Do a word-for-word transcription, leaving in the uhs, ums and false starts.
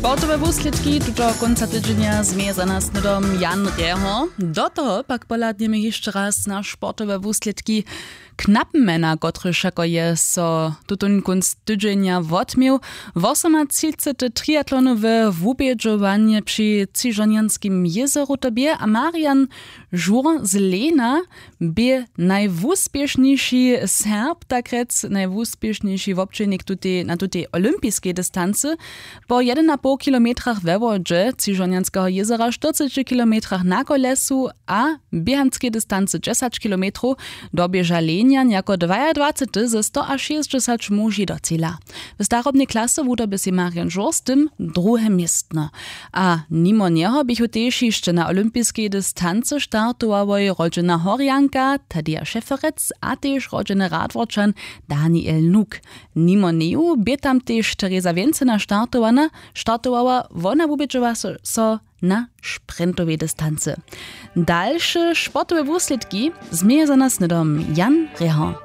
Sportowe wuslědki tutoho kónca tydźenja změje za nas hnydom Jan Rjeho. Do toho pak pohladnjemy hišće raz na sportowe wuslědki knapmena, kotryž wšako je so tutón kónc tydźenja wotměł. Wosomatřicete triatlonowe wubědźowanje při třižonjanskim jězoru to bě a Marian Žur z Lena bě najwuspěšniši Serb, tak rjec najwuspěšniši wobdźělnik na tutej olympiskej distancy. Po jedynapoł kilometrach we wodźe třižonjanskeho jězora, štyrceći kilometrach na kolesu a běhanskej distancy dźesać kilometrow doběža Lenjan jako dwajadwacety ze stoašěsćdźesać muži do cila. W starobnej klasy wudoby sej Marian Žur z tym druhe městno. A nimo njeho běchu tež hišće na olympiskej distancy startowałoj rodźena Horjanka Tadeja Šeferec a tež rodźeny Radworčan Daniel Nuk. Nimo njeju bě tam tež Tereza Wjencena startowana. Startowała, wona wubědźowa so, so na sprintowej distancy. Dalše sportowe wuslědki změje za nas hnydom Jan Rjeho.